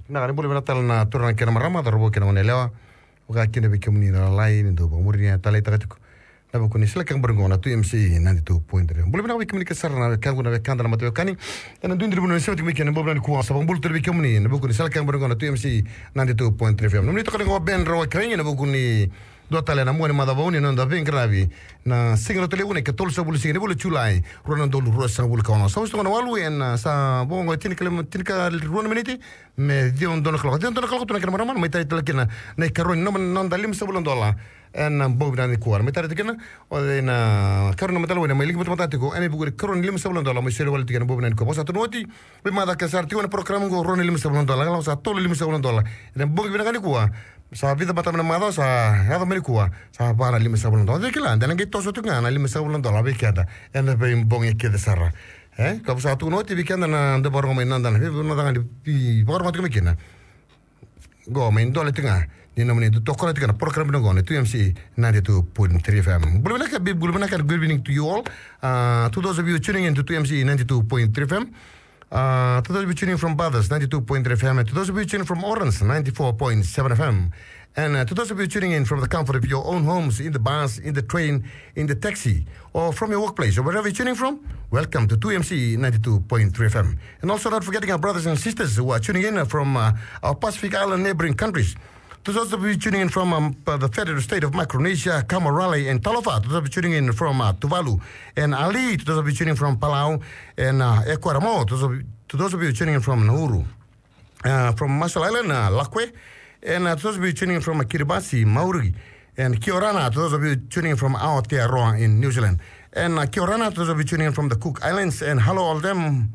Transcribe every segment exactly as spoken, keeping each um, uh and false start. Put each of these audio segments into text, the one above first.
Na ka ni bula vinaka tale na turaga kei na marama, cauravou kei na goneyalewa. Vaka kina vei kemuni na lalai ni dau vakamuria taleitaka tiko na vuku ni sala kekebori qo na two M C E ninety-two point three. Bula vinaka vei kemuni kece sara na wekaqu, na wekada, na mataveiwekani ena duidui ni vanua ni sema tiko mai kina ena bogi vinaka nikua. Sa vakabula tale vei kemuni na vuku ni sala kekebori qo na two M C E ninety-two point three F M. Nomuni toka qo Ben Rawa Kerei ena vuku ni dua tale na mua ni macawa vou ni noda veiqaravi, na siga Ratu Levu, na ikatolu sagavulu siga ni vula o Julai, rua na udolu ruasagavulu ka ono. Sa oti toka na walu ena, sa vo qo e tinikalima, tinikarua na miniti me ciwa dua na kaloko. Ciwa dua na kaloko tu na kena marama, mai tara tale kina na ikarua ni noda limasagavulu na dola ena bogi vinaka nikua. Mai tara tale kina o cei na ikarua ni noda matalavoini mai liki matamata tiko ena ivuku ni ikarua ni limasagavulu na dola, mai soli wale tiko ena bogi vinaka nikua. Vaka sa tukuni oti, veimacawa kece sara tiko ena program qo, rua na limasagavulu na dola, ka lako sa tolu na limasagavulu na dola ena bogi vinaka nikua. Sa vica mada mai na macawa sa yaco mai nikua, sa va na limasagavulu na dola. Cei kila, de na qai toso tu ga na limasagavulu na dola vei keda ena veibogi kece sara. E, ka sa tukuni oti vei keda na dau vakarorogo mai, noda na vei, noda ga ni vakarorogo tiko mai kina. Qo mai dola tiko ga ni nomuni dau tokona tiko na program qo na two M C E ninety-two point three F M. Bula vinaka, big bula vinaka, good evening to you all. Uh, to those of you tuning in to two M C E ninety-two point three F M, uh, to those of you tuning from Bathurst, ninety-two point three F M, and to those of you tuning from Orange, ninety-four point seven F M, and, uh, to those of you tuning in from the comfort of your own homes, in the bus, in the train, in the taxi, or from your workplace, or wherever you're tuning from, welcome to two M C E ninety-two point three F M. And also not forgetting our brothers and sisters who are tuning in from, uh, our Pacific Island neighboring countries. To those of you tuning in from, um, uh, the Federated State of Micronesia, Kamarali and Talofa. To those of you tuning in from, uh, Tuvalu and Ali. To those of you tuning from Palau and, uh, Ekuramo. To those of you, to those of you tuning in from Nauru, uh, from Marshall Island, uh, Lakue. And, uh, to those of you tuning in from, uh, Kiribati, Maori. And kia orana to those of you tuning in from Aotearoa in New Zealand. And, uh, kia orana to those of you tuning in from the Cook Islands. And hello all them,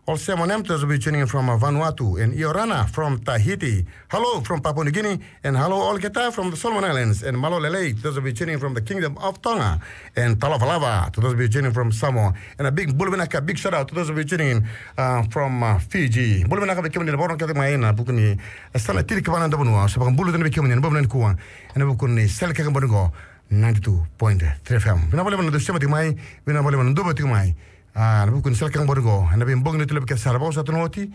all Samoan, to those of you tuning in from, uh, Vanuatu. And ia orana from Tahiti. Hello from Papua New Guinea. And hello all keta from the Solomon Islands. And malo lelei to those of you tuning in from the Kingdom of Tonga. And talofa lava to those of you tuning from Samoa. And a big bula vinaka, big shout out to those of you tuning in, uh, from, uh, Fiji. Bula vinaka vei kemuni na vakarorogo kece mai ena vuku ni, e, yasana tinikava ni noda vanua. Sa vakabula tale vei kemuni ena bogi vinaka nikua ena vuku ni sala kekebori qo, ninety-two point three F M. Vinaka vakalevu na dau sema tiko mai, vinaka vakalevu na dau vata tiko mai. A, ena vuku ni sala kekebori qo ena veibogi ni Tulovi kece sara. Vaka sa tukuni oti,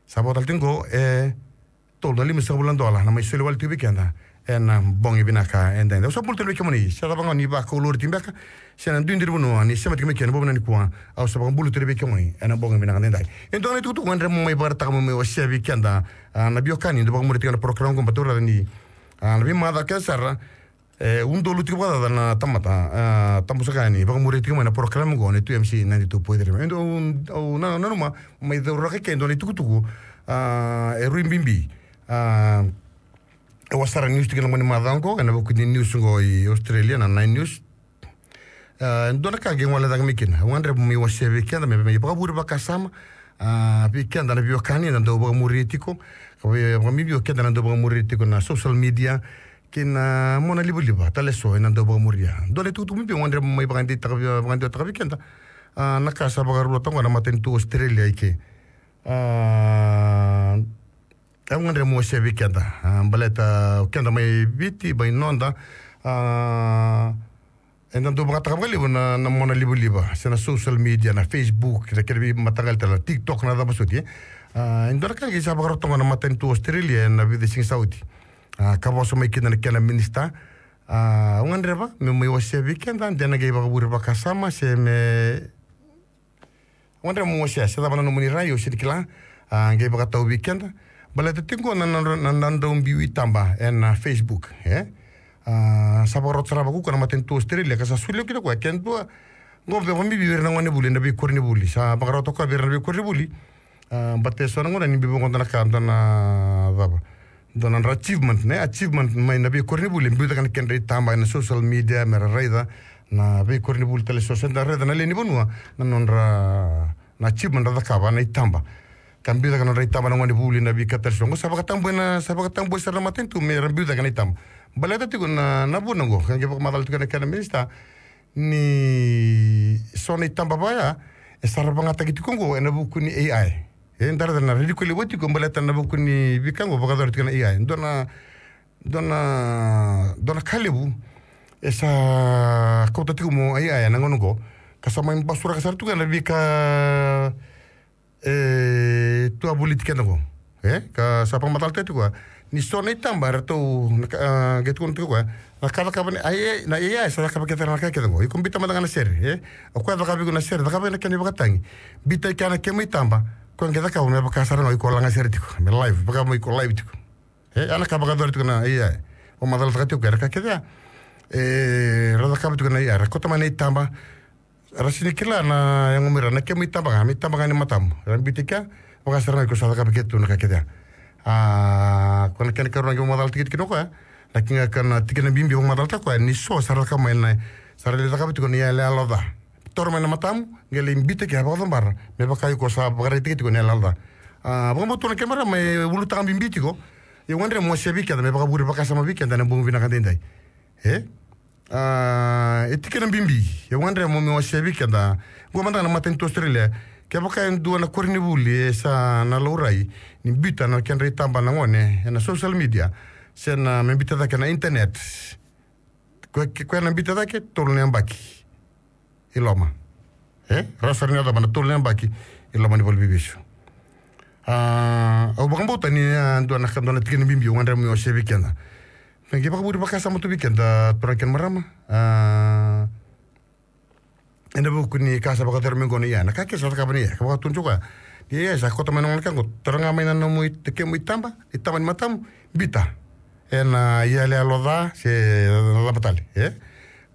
sa vo tale tiko qo e tolu na limasagavulu na dola na mai soli wale tiko vei keda ena bogi vinaka edaidai. Au sa bula tale vei kemuni, se cava ga ni vakau lori tiko beka, se na duidui ni vanua ni sema tiko mai kina ena bogi vinaka nikua, au sa vakabula tale vei kemuni ena bogi vinaka edaidai. E dua na itukutuku au gadreva meu mai vakaraitaka, meu mai wasea vei keda, a, na veiwekani dau vakamuri tiko na program qo, baleta ni, a, na veimacawa kece sara, e, udolu tiko vakacaca na tamata, a, tabu saka yani, vakamuri tiko mai na program qo na two M C E ninety-two point three. E dua, au, au na, nanuma mai cauraka ke e dua na itukutuku, a, e rui bibi. A, e wasara news tiko ena gauna ni macawa qo, ena vuku ni news qo i Australia, na Nine News. A, e dua na ka qai gole cake mai kina. Au gadreva meu mai wasea vei keda, me, me mai vakavure vakasama, a, vei keda na veiwekani eda dau vakamuri tiko, ka vei, vakabibi o keda na dau vakamuri tiko na social media, kei na mona livaliva tale eso eda dau vakamuria. Dua na itukutuku bibi au gadreva meu mai vakadeitaka vei, vakadewataka vei keda. A, na ka sa vakarau toka qo na matanitu Australia i ke. A, au gadreva meu wasea vei keda, a, baleta o keda mai Viti, mai noda, a, eda dau vakataka vakalevu na, na mona livaliva, se na social media, na Facebook, na kena veimataqali tale, TikTok, na cava soti, e. A, e dua na ka qai sa vakarau toka qo na matanitu Australia ena vica siga sa oti. A, ka vosa mai kina na kena minisita. A, au gadreva meu mai wasea vei keda, de na qai vakavure vakasama, se me Au gadreva meu wasea, se cava na nomuni rai, au sega ni kila, a, qai vakatau vei keda. Baleta tiko na, na, na, na nodrau biu itaba ena Facebook, e? A, sa vakarau sara vakaukaua na matanitu Australia, ka sa solia kina o koya, ke dua, qo vei, vakabibi vei ira na gonevuli ena veikoronivuli. Sa vakarau toka vei ira na veikoronivuli. A, baleta eso na gauna ni biu vaqo dua na ka, dua na cava, dua na nodra achievement, ne? Achievement mai na veikoronivuli, biu cake na kedra itaba ena social media, me ra raica na veikoronivuli tale eso, se da raica na lewe ni vanua na nodra, na achievement ra cakava na itaba. Ka biu cake na nodra itaba na gonevuli, na veika tale eso. Qo sa vakatabua na, sa vakatabua sara na matanitu me ra biu cake na itaba. Baleta tiko na, na vuna qo, ka qai vakamacala tiko na kena minisita, ni so na itaba vaya e sa ra vagataki tiko qo ena vuku ni A I. E, da raica na rai ni koya levu tiko baleta na vuku ni veika qo vakayacori tiko na A I. Dua na, dua na, dua na ka levu e sa kauta tiko mai o A I ena gauna qo, ka sa mai basuraka sara tiko na veika e tu a voliti keda qo. E, ka sa vakamacalataka tiko koya. Ni so na itaba, eratou, na ka, a, qai tukuna tiko koya. Na ka cakava ni, a, e, na A I sa cakava kece na ka kece qo. Iko bita mada ga na sere, e? O koya cakava iko na sere, cakava na kena ivakatagi. Bita i kea na kemu itaba. Koya qai cakava me vaka sara ga iko laga sere tiko. Me live, vaka mo iko live tiko. E, a na ka vakayacori tiko na A I. Vakamacalataka tiko koya, na ka kece ya. E, ra cakava tiko na A I, ra kauta mai na itaba. Ra sini kila na yago mai ra, na kemu itaba ga, me itaba ga ni matamu. Ra bita i kea, vaka sara ga iko sa cakava kece tu na ka kece ya. A, ko na kena karua qai vakamacalataki tiko o koya. Na kena, kena tikina bibi vakamacalataka o koya, ni so sa ra cakava mai na, sa ra lai cakava tiko na iyaloyalo ca. Toro mai na matamu, qai lai bita i kea vakacabora. Me vaka iko sa vakaraitaki tiko na iyaloyalo ca. A, vakabauta na kena marama e ulutaga bibi tiko. Ia au gadreva meu wasea vei keda, me vakavure vakasama vei keda ena bogi vinaka daidai. E? A, e tikina bibi, e gadreva mo me wasea vei keda. Qo mada ga na matanitu Australia. Kevaka e dua na koronivuli e sa na laurai ni bita na kedra itaba na gone ena social media, se na me bita cake na internet. Ko, ko, ko na bita cake, tolu na yabaki i loma. E? Rau sa na yacova na tolu na yabaki i loma ni valeniveivesu. A, au vakabauta ni, a, dua na, dua na tikina bibi au gadreva meu wasea vei keda. Me qai vakavure vakasama tu vei keda, turaga kei na marama. A, ena vuku ni ka sa vakayacori mai qo na A I, na ka kece sa cakava na A I, ka vakatudra o koya. Ni A I sa kauta mai na gone ka qo, taura ga mai na nomu it-, kemu itaba, itaba ni matamu, bita. Ena iyaloyalo ca, se na cava tale, e?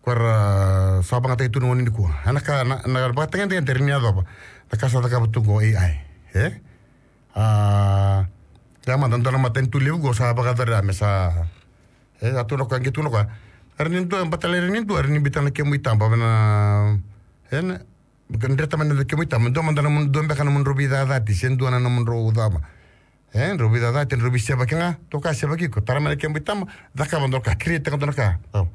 Ko ra sa vakayagataki tu na gauna nikua. Ena ka, na, na vakatagedegede era ni yacova. Na ka sa cakava tu qo A I, e? A, ia mada, dua na matanitu levu qo sa vakayacora me sa, e, a tukuna o koya, qai tukuna o koya. Era ni dua, baleta era ni dua, era ni bita na kemu itaba, vena, e, na, dreta mai na kemu itaba, dua mada na nomu, dua beka na nomudrau veicacati, se dua na nomudrau cava. E, drau veicacati, drau veisevaki ga, toka sevaki iko, tara mai na kemu itaba, cakava dua na ka, create-taka dua na ka. Au.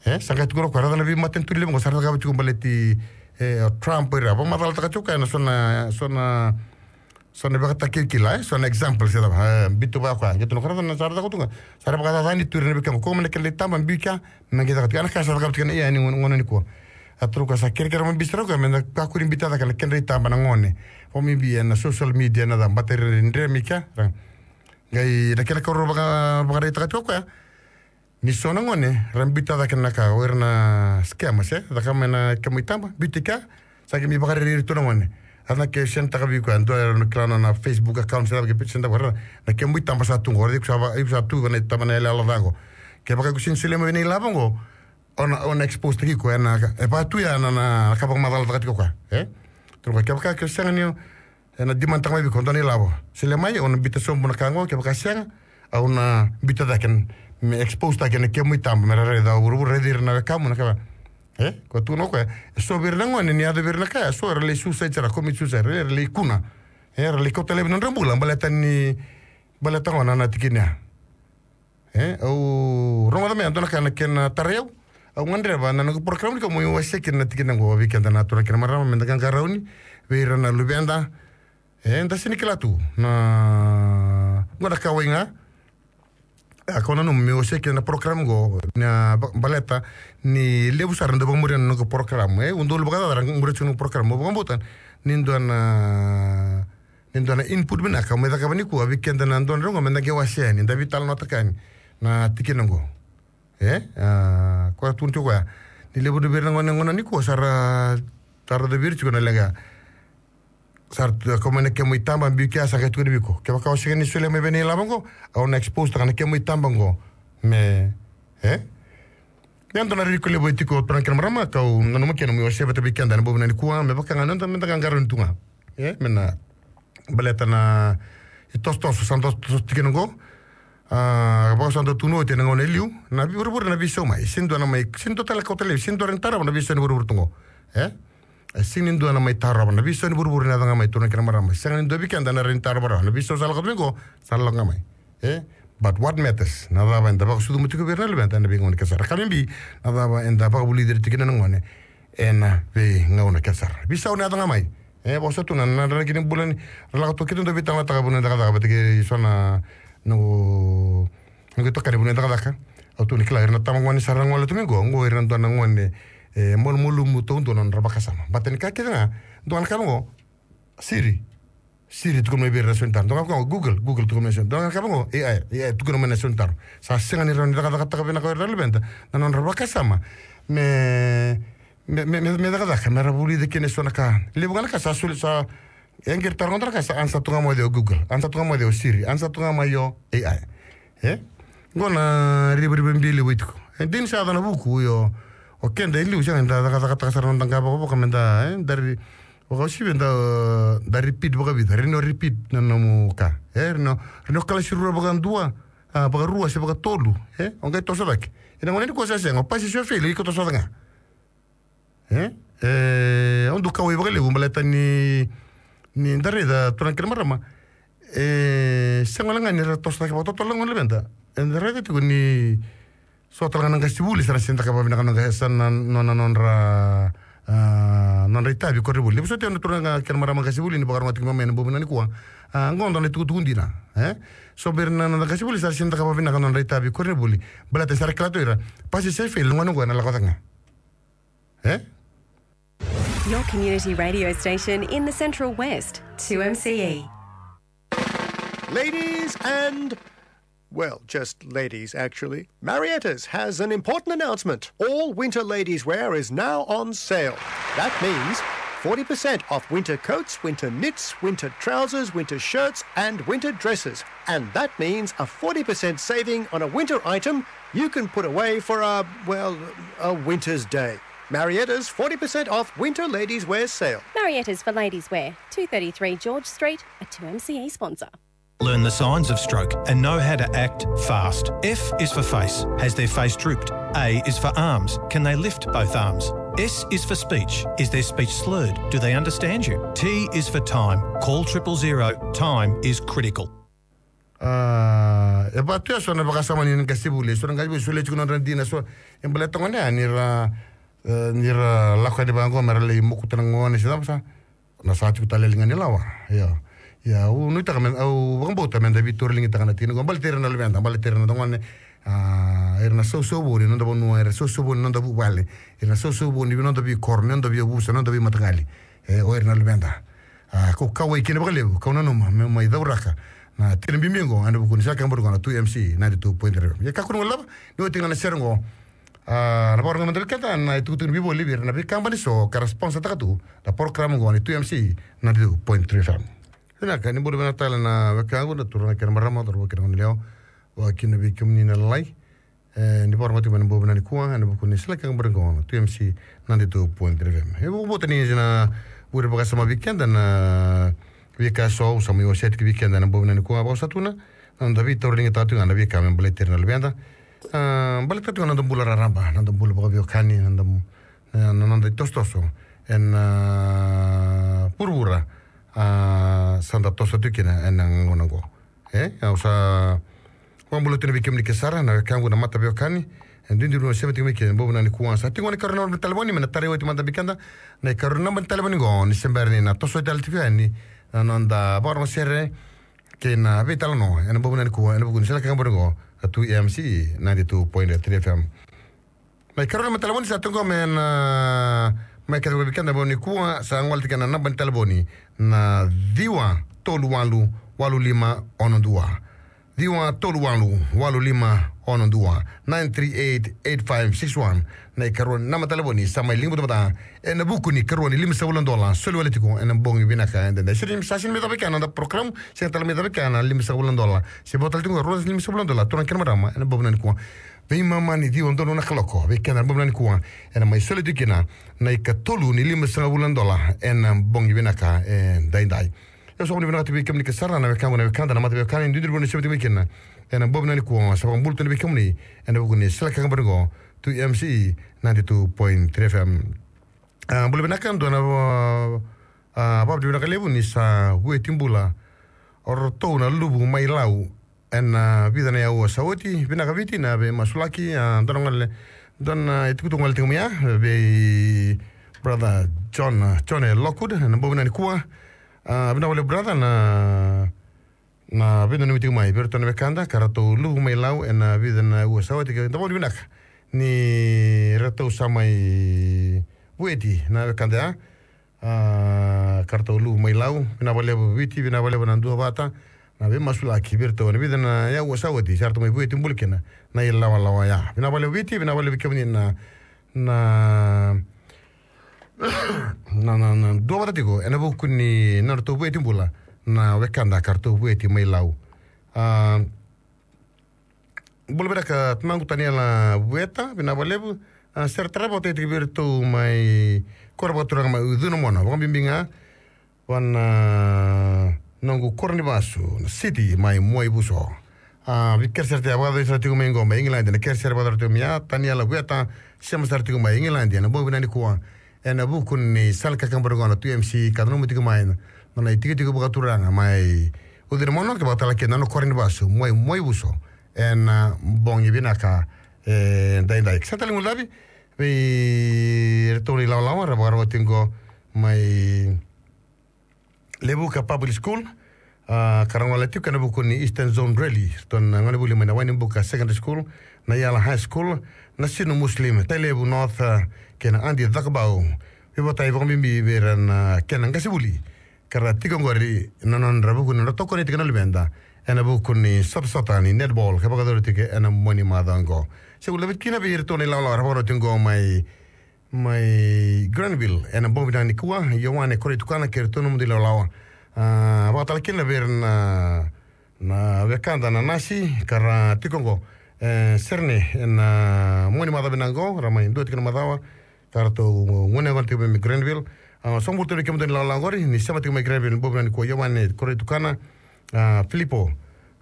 E, sa qai tukuna o koya, raica na veimatanitu levu qo, sa ra cakava tiko baleti, e, o Trump o ira. Vakamacalataka tiko o koya na so na, so na, so na ivakatakilakila, e, so na example, se cava, e, bitu vaka o koya. Qai tukuna o koya, raica na sa ra cakava tu ga. Sa ra vakacacani tu ira na veika qo, kauta mai na kedra itaba, biu i kea, me qai caka tiko. Ena ka sa cakava tiko na A I ni gauna, gauna nikua. A tukuna o koya sa kerekere mai bibi sara o koya, me da kakua ni bita cake na kedra itaba na gone. Vakabibi ena social media na cava, baleta era dre mai kea, ra. Qai na kena karua vaka, vakaraitaka tiko o koya. Ni so na gone, ra bita cake na ka, o ira na scammers, e, caka mai na kemu itaba, biuti kea, sa qai mai vakarerei ira tu na gone. A na ke send-taka vei koya, dua era na kila na, na Facebook account, sa qai send-taka vei ira, na kemu itaba sa tu qo, iko sa va, iko sa tu vei na itaba na iyaloyalo ca qo. Kevaka iko sini solia mai vei na ilavo qo, o na, o na expose-taki iko, e na, e va tu ya na, na, na ka vakamacalataka tiko o koya, e? Tukuna o koya, kevaka iko sega ni, Ena demand-taka mai vei iko dua na ilavo. Solia mai, au na biuta sobu na ka qo, kevaka sega, au na biuta cake me expose-taki na kemu itaba, me ra raica o vuravura, raici ira na wekamu na ka. E, ko tukuna o koya, e so vei ira na gone, ni yaco vei ira na ka ya, so era lai suicide sara, commit suicide, era lai kuna. E, era lai kauta laivi na nodra bula, baleta ni, baleta qo na, na tikina ya. E, au rogoca mai e dua na ka na kena tarai au. Au gadreva na noqu program ni ka mo wasea kina na tikina qo vei keda na turaga kei na marama me da qaqarauni vei ira na luveda. E, da sini kila tu na qo na kauwai ga. A, kau nanuma meu wasea kina na program qo na ba-, baleta ni levu sara dau vakamuria na noqu program. E, au dau luvaka cava ra muria tiko na noqu program. Au vakabauta ni dua na Ni dua na input vinaka, me cakava nikua, vei keda na dua na rogo, me da qai wasea yani, da veitalanoataka yani na tikina qo. E? A, koya tukuna tiko koya. Ni levu vei ira na gone, gone nikua, sa ra, sa ra dau vei ira tiko na leqa. Sa ra tu, kauta mai na kemu itaba, biu kea sa qai tukuna vei iko. Kevaka o sega ni solia mai vei na ilavo qo, au na expose-taka na kemu itaba qo. Me, e? Ia dua na riri ko levu e tiko turaga kei na marama, kau nanuma kina meu wasea vata vei keda ena bogi vinaka nikua, me vaka ga noda, me da qaqarauni tu ga. E, me na baleta na itosotoso, sa tosotoso tikina qo. A, vaka sa dau tukuna oti ena gauna e liu, na vuravura na veisau mai, sega ni dua na mai, sega ni dua tale kauta laivi, sega ni dua rawa ni tarova na veisau ni vuravura tu qo. E? E, sega ni dua na mai tarova na veisau ni vuravura ni yaco ga mai turaga kei na marama. Sega ni dua vei keda na rawa ni tarova rawa na veisau sa lako tu mai qo, sa lako ga mai. E? But what matters, na cava eda vakasucuma tiko vei ira na luveda ena veigauna kece sara. Ka bibi, na cava eda vakavulici ira tiko kina na gone ena veigauna kece sara. Veisau na yaco ga mai. E, vosa tu na, na draki ni bula ni, ra lako tu keitou dau veitalanoataka vanua e cakacaka, vata kei so na, noqu, noqu itokani vanua e cakacaka. Au tukuna, kila, ira na tamagone sa ra gole tu mai qo, qo ira na dua na gone, e, malumalumu taudua na nodra vakasama. Baleta ni ka kece ga, dua na ka qo, siri. Siri, tukuna mai vei ira na sauni taro. Dua ga vaka oqo, Google, Google, tukuna mai na sauni taro. Dua ga vaka oqo, A I, A I, tukuna mai na sauni taro. Sa sega ni rawa ni cakacakataka vinaka o ira na luveda na nodra vakasama me, me, me, me, me cakacaka, me ra vulica kina eso na ka. Levu ga na ka sa soli, sa, e qiri taro ga na ka, sa ansa tu ga mai o Google, ansa tu ga mai o Siri, ansa tu ga mai o A I. E? Qo na rivarivabi e levu e tiko. E dina sa yaco na vuku, io, o keda e liu sega ni da cakacakataka sara na noda qavokavoka me da, e, da ri, vakauasivi da, da repeat vakavica, rawa ni o repeat na nomu ka. E, rawa ni o, rawa ni o kalasi rua vakadua, a, vakarua se vakatolu. E, o qai toso cake. Ena gauna nikua sa sega, o pasi se o fail, iko toso cake ga. E, e, au dau kauwai vakalevu baleta ni, ni da raica turaga kei na marama. E, sega wale ga ni ra toso cake vakatotolo na gauna luveda. Eda raica tiko ni so tale ga na qasenivuli sa na sega ni caka vakavinaka na nona, sa na, nona, nodra, a, nodra itavi koronivuli. Ni vosoti au na turaga kei na marama qasenivuli ni vakarogo tiko mai mai ena bogi vinaka nikua. A, qo dua na itukutuku dina. E? So vei ira na, na qasenivuli sa na sega ni caka vakavinaka na nodra itavi koronivuli. Baleta ni sa ra kila tu o ira. Pasi se fail, na gauna qo ena lako cake ga. E? Your community radio station in the Central West, two M C E. Ladies and, well, just ladies, actually. Marietta's has an important announcement. All winter ladies wear is now on sale. That means forty percent off winter coats, winter knits, winter trousers, winter shirts, and winter dresses. And that means a forty percent saving on a winter item you can put away for a, well, a winter's day. Marietta's forty percent off winter ladies wear sale. Marietta's for ladies wear, two thirty-three George Street, a two M C E sponsor. Learn the signs of stroke and know how to act fast. F is for face. Has their face drooped? A is for arms. Can they lift both arms? S is for speech. Is their speech slurred? Do they understand you? T is for time. Call triple zero. Time is critical. A, e vaka tu ya so na vakasama ni qasenivuli, so na qasenivuli, solia tiko na nodra dina, so e baleta gona ya ni ra, e, ni ra lako yani vaqo me ra lai mokuta na gone se cava sa, na sa tiko tale e liga ni lawa. Ia, ia, au nuitaka me, au vakabauta me da veitauraligitaka na tikina qo, baleti ira na luveda, baleti ira na gone, a, ira na sausauvou ni noda vanua, ira na sausauvou ni noda vuvale, ira na sausauvou ni noda veikoro, ni noda veiyavusa, ni noda veimataqali. E, o ira na luveda. A, kau kauwai kina vakalevu, kau nanuma meu mai cauraka na tikina bibi qo ena vuku ni sala kena bori qo na two M C ninety-two point three. Ia kakua ni guilecavi, ni oti ga na sere qo, a, na vakarorogo mada vei keda na itukutuku ni veivoli vei ira na veikabani so ka ra sponsor taka tu na program qo ni two M C ninety-two point three F M. Vinaka, ni bula vinaka tale na wekaqu, na turaga kei na marama, cauravou kei na goneyalewa, vakakina vei kemuni na lalai. E, ni vakarorogo tiko mai ena bogi vinaka nikua ena vuku ni sala kena bori qo na two M C ninety-two point three F M. E vakabauta ni na vure vakasama vei keda na veika eso au sa mai wasea tiko vei keda ena bogi vinaka nikua, vakasa tu na noda veitauraligitaka tiko ga na veika me baleti ira na luveda. A, baleta tiko ga na noda bula raraba, na noda bula vakaveiwekani, na noda, na, na noda itosotoso ena, a, vuravura, a, sa da toso tiko kina ena gauna qo. E, au sa vakabula tu yani vei kemuni ke sara na wekaqu na mataveiwekani. E duidui ni o sema tiko mai kina ena bogi vinaka nikua. Sa tiko na ikarua ni naba ni talevoni me na tarai oti mada vei keda na ikarua ni naba ni talevoni qo, ni se bera ni na toso oti tale tiko yani na noda vakarorogo sere kei na veitalanoa ena bogi vinaka nikua ena vuku ni sala kena bori qo na two M C ninety-two point three F M. Na ikarua ni naba ni talevoni sa tu qo me na mai kacivaki vei keda ena bogi nikua, sa gole tiko na naba ni talevoni na ciwa tolu walu walu lima ono dua. Ciwa tolu walu walu lima ono dua, nine three eight eight five six one. Na ikarua ni naba ni talevoni sa mai liga butabata ena vuku ni karua ni limasagavulu na dola soli wale tiko ena bogi vinaka edaidai. Sa sega ni mai cava i kea na noda program, sega tale mai cava i kea na limasagavulu na dola. Se vo tale tiko qo rua na limasagavulu na dola, turaga kei na marama, ena bogi vinaka nikua. Veimama ni ciwa donu na kaloko vei keda ena bogi vinaka nikua, ena mai soli tiko kina na ikatolu ni limasagavulu na dola ena bogi vinaka edaidai. Au sa vakavinavinaka tiko vei kemuni ke sara na wekaqu na wekada na mataveiwekani, duidui ni bula ni sema tiko mai kina ena bogi vinaka nikua. Sa vakabula tu yani vei kemuni ena vuku ni sala kena bori qo, two M C ninety-two point three F M. A, bula vinaka, dua na va-, a, vakavinavinaka levu ni sa vueti bula o ratou na luvu mai Lau ena, a, vica na aua sa oti. Vinaka Viti na veimasulaki, a, dua na gole, dua na itukutuku gole tiko mai ya vei brother John, a, John e Lockwood ena bogi vinaka nikua. A, vinaka vakalevu brother na, na veidanumi tiko mai vei iratou na wekada ka ratou luvu mai Lau ena vica na aua sa oti, ka da vakavinavinaka ni ratou sa mai vueti na wekada ya. A, ka ratou luvu mai Lau, vinaka vakalevu Viti, vinaka vakalevu na duavata, na veimasulaki vei iratou ena vica na yau sa oti, sa ratou mai vueti bula kina na ilawalawa ya. Vinaka vakalevu Viti, vinaka vakalevu kemuni na, na, na, na, na duavata tiko ena vuku ni nodratou vueti bula na wekada ka ratou vueti mai Lau. A, bula vinaka tamaqu Taniela Vueta, vinaka vakalevu. A, sere tara vata tiko vei iratou mai koro vakaturaga mai Ucuna Mona, vakabibi ga vua na noqu koro ni vasu na City mai Muaivuso. A, vei kere sere tiko vakacava sara tiko mai qo mai England, na kere sere vakacava tiko mai ya, Taniela Vueta, sema sara tiko mai England ena bogi vinaka nikua. Ena vuku ni sala kakabara qo na two M C ka nanuma tiko mai na, na itikotiko vakaturaga mai Ucuna Mona, ka vakatale kina na koro ni vasu mai Muaivuso ena bogi vinaka edaidai. Sa tale guilecavi vei iratou na ilawalawa ra vakarorogo tiko mai Levuka Public School, a, ka ra gole tiko ena vuku ni Eastern Zone Rally, ratou na gonevuli mai na Wainibuka Secondary School, na Yala High School, na Sinu Muslim, Tailevu North, a, kei na Adi Cakobau. Veivotai vakabibi vei ira na kena qasenivuli ka ra tiko qori ena nodra vuku ni nodra tokoni tiko na luveda ena vuku ni sotasota ni netball ka vakayacori tiko ena mua ni macawa qo. Sa guilecavi kina vei iratou na ilawalawa ra vakarorogo tiko qo mai mai Granville ena bogi vinaka nikua, Ioane Koreitukana kei iratou na nomudou ilawalawa. A, vakatale kina vei ira na, na wekada na nasi ka ra tiko qo e Serene ena mua ni macawa vinaka qo, ra mai dua tiko na macawa ka ratou gone gona tiko mai Granville. A, sa bula tale vei kemudou na ilawalawa qori ni sema tiko mai Granville ena bogi vinaka nikua, Ioane Koreitukana, a, Filipo,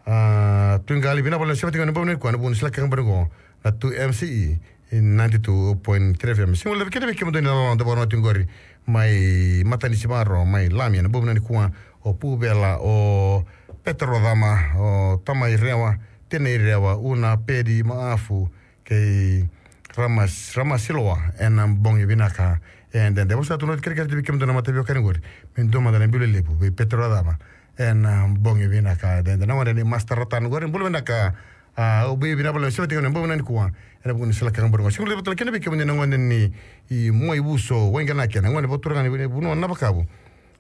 a, Tuiqali, vinaka vakalevu sema tiko ena bogi nikua ena vuku ni sala kakabara qo na two M C E ninety-two point three F M. Sa guilecavi kina vei kemudou na ilawalawa dou vakarorogo tiko qori mai Matanisivaru, mai Lami ena bogi nikua, o Puvela, o Petero Cama, o Tamai Rewa, Tenei Rewa, Una, Pedi, Maafu, kei Ramas, Ramasiloa ena bogi vinaka edaidai. Vou sa tu na oti kerekere tu vei kemudou na mataveiwekani qori me dua mada na biu lelevu vei Petero Cama ena bogi vinaka edaidai. Na gone ni Master Ratan qori, bula vinaka. A, au via vinaka vakalevu sema tiko ena bogi vinaka nikua ena vuku ni sala kakabara qo. Sa guilecavi tale kina vei kemuni na gone ni Muaivuso, Waiganaki, na gone vakaturaga ni vanua Navakavu.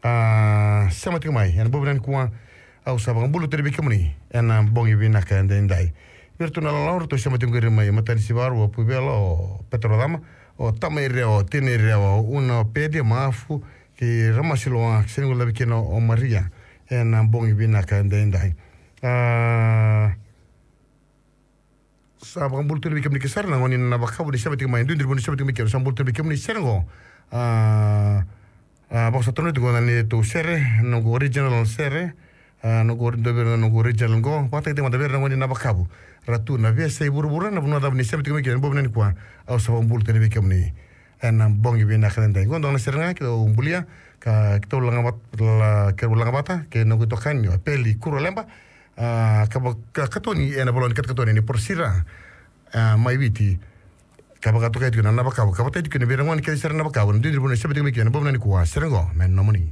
A, sema tiko mai ena bogi vinaka nikua, au sa vakabula tale vei kemuni ena bogi vinaka edaidai. Vei iratou na ilawalawa ratou sema tiko qori mai Matanisivaru, o Puvela, o Petero Cama, o Tamai Rewa, o Tenei Rewa, o Una, o Pedi, Maafu kei Ramasiloa, sa guilecavi kina o Maria ena bogi vinaka edaidai. A, sa vakabula tu vei kemuni kece sara na gone ni Navakavu ni sema tiko mai, duidui ni sema tiko mai kina, sa bula tu vei kemuni sere qo. A, a, vou sa tu na oti qo na neitou sere, noqu original sere, a, noqu ori-, dua vei ira na noqu original qo, vakatakitaki mada vei ira na gone ni Navakavu ra tu na veiyasai vuravura, na vanua cava ni sema tiko mai kina ena bogi vinaka nikua, au sa vakabula tu vei kemuni ena bogi vinaka edaidai. Qo dua na sere ga keitou bulia, ka keitou laga vat-, la, keitou laga vata kei noqu itokani o Peli Kuraleba. A, ka va-, ka katoni ena vola ni katakatoni ni Porosira, a, mai Viti. Ka vakatokai tiko na Navakavu, ka vakatakitaki tiko na vei ira na gone kece sara na Navakavu, na duidui ni vanua sema tiko mai kina ena bogi vinaka nikua, sere qo me nomuni.